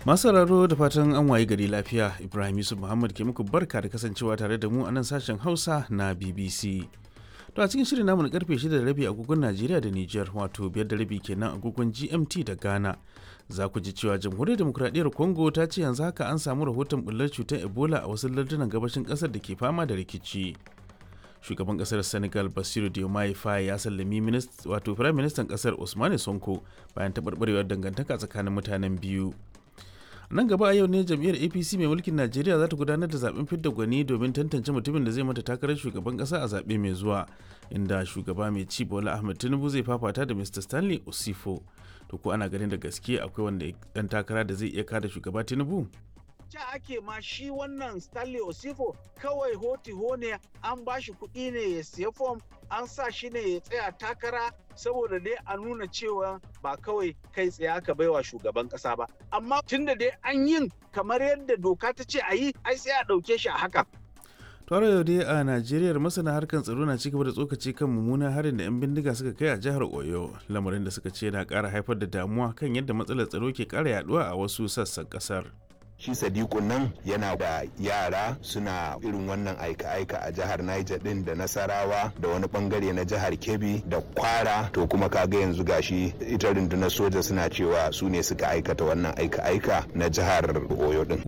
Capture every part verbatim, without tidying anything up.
Masu sauraro, da fatan an wayi gari lafiya. Ibrahim Yusuf Muhammad ke muku barka da kasancewa tare da mu a nan sashen Hausa na B B C. To, a cikin shirin namu na karfe shida da rabi agogon Najeriya da Nijar, wato biyar da rabi kenan agogon G M T da Ghana, za ku ji cewa Jamhuriyar Demokuraɗiyyar Congo ta ce yanzu haka an samu rahoton bullar cutar Ebola a wasu lardunan gabashin ƙasar da ke fama da rikici. Shugaban kasar Senegal Basiru Diomaye Faye ya sallami wato Firayim Ministan kasar Ousmane Sonko bayan taɓarɓarewar dangantaka tsakanin mutanen biyu. Nan gaba a yau ne jam'iyyar A P C mai mulkin Najeriya za ta gudanar da zaben fidda gwani domin tantance mutumin da zai mata takarar shugaban kasa a zaɓe mai zuwa, inda shugaba mai ci Bola Ahmed Tinubu zai fafata da Mister Stanley Osifo. To, ko ana ganin da gaske akwai wanda dan takara da zai iya kada shugaba Tinubu? Ca ake ma shi wannan Stanley Osifo kawai hoti ne, an ba shi kuɗi ne ya siya fom, an sa shi ne ya tsaya takara saboda dai a nuna cewa ba kawai kai tsaye aka baiwa shugaban ƙasa ba. Amma tunda dai an yin kamar yadda doka ta ce a yi, ai sai a ɗauke shi a haka. Tare yau dai a Najeriya, masana harkar tsaro na cigaba da tsokaci kan mummunan harin da 'yan bindiga suka kai a jihar Oyo, lamarin da suka ce na ƙara haifar da damuwa kan yadda matsalar tsaro ke ƙara yaduwa a wasu sassan ƙasar. Shi Sadiku nan yana da yara suna irin wannan aika-aika a jihar Niger din da Nasarawa da wani bangare na jihar Kebbi da Kwara. To, kuma kaga yanzu gashi ita rundunar soja suna cewa su ne suka aikata wannan aika-aika na jihar Oyo din.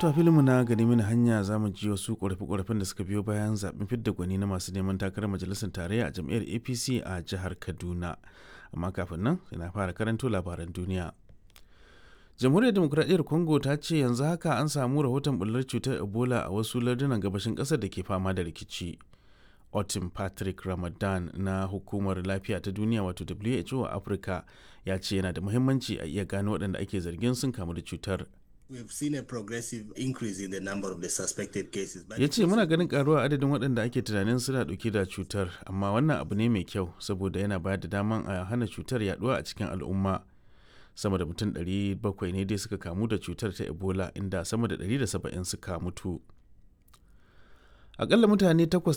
To, filinmu na gani mini hanya, za mu ji wasu ƙorafe-ƙorafen da suka biyo bayan zaɓen fidda gwani na masu neman takarar majalisar tarayya a jam'iyyar A P C a jihar Kaduna. Amma kafin nan, na fara karanto labaran duniya. Jamhuriyar Demokuraɗiyyar Congo ta ce yanzu haka an samu rahoton bullar cutar Ebola a wasu lardunan gabashin ƙasar da ke fama da rikici. Otin Patrick Ramadan na Hukumar Lafiya ta Duniya, wato W H O a Afirka, ya ce yana da muhimmanci a iya gano waɗanda ake zargin sun kamu da cutar. Ya ce muna ganin karuwa adadin waɗanda ake tunanin suna ɗauke da cutar, amma wannan abu ne mai kyau saboda yana bayar da daman a hana cutar yaduwa a cikin al'umma. Sama da mutum ɗari bakwai ne dai suka kamu da cutar ta Ebola, inda sama da ɗari da saba'in suka mutu. Akalla mutane takwas